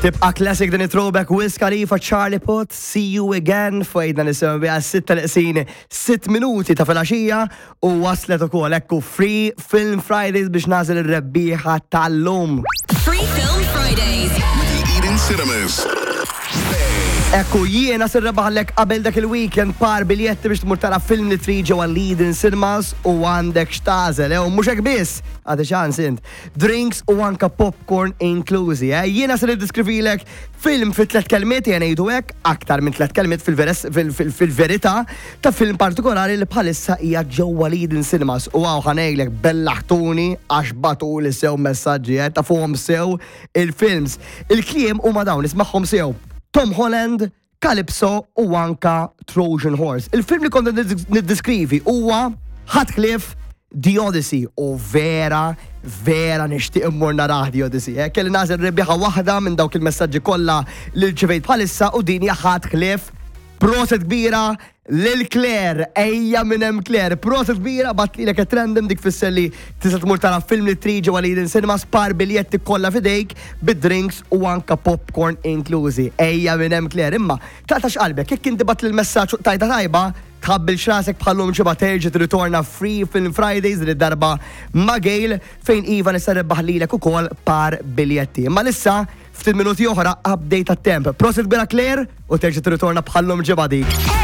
Tibqa classic din it-throwback Wiz Khalifa Charlie Puth, See You Again, fajna nisimgħu biha sitta neqsin 6 minuti ta' filgħaxija u waslet ukoll ekku Free Film Fridays biex nagħżel ir-rebbieħa tal-lum. Free Film Fridays. With the Eden Cinemas. Ekku jiena se nrebaħlek qabel dak il-weekend par biljetti biex tmur tara film li trid ġewwa l-Eden Cinemas u għandek x'tagħżel, eh, u mhux hekk biss, għandi ċans int. Drinks u anka popcorn inklużi. Eh? Jiena se niddiskrivilek film fi tlet kelmiet, jena ngħidu hekk, aktar minn tlet kelmiet fil-verità ta' film partikolari li bħalissa hija ġewwa l-Eden Cinemas. U hawn ħa ngħidlek bellaħtuni għax bagħtuli sew messaġġi, eh? Tafuhom sew il-films. Il-kliem huma dawn, ismagħhom sew. Tom Holland, Calypso u anka Trojan Horse. Il-film li kont niddiskrivi huwa ħadd ħlief The Odyssey u vera, vera nixtieq immur narah The Odyssey. Eh? Kelli nagħżel rebbieħa waħda minn dawk il-messaġġi kollha li rċevejt bħalissa u din hija ħadd ħlief proset kbira lil Claire, ejja minn hemm Claire, proset kbira bgħattlilek at random dik fisser li tista' tmur tara film li trid ġewwa l-Eden Cinemas par biljetti kollha f'idejk bid-drinks u anka popcorn inklużi. Ejja minn hemm Claire, imma taqtax qalbek jekk inti bgħattli l-messaġġ u qtajtha tajba, tħabbilx rasek bħal-lum ġimgħa terġa' tirritorna Free Film Fridays din id-darba ma' Gail fejn iva nista' nrebbaħ lilek ukoll par biljetti. Imma issa Ftit minuti oħra update tat-temp. Prosit kbira Claire u terġa' tirritorna bħal-lum ġimgħa dik.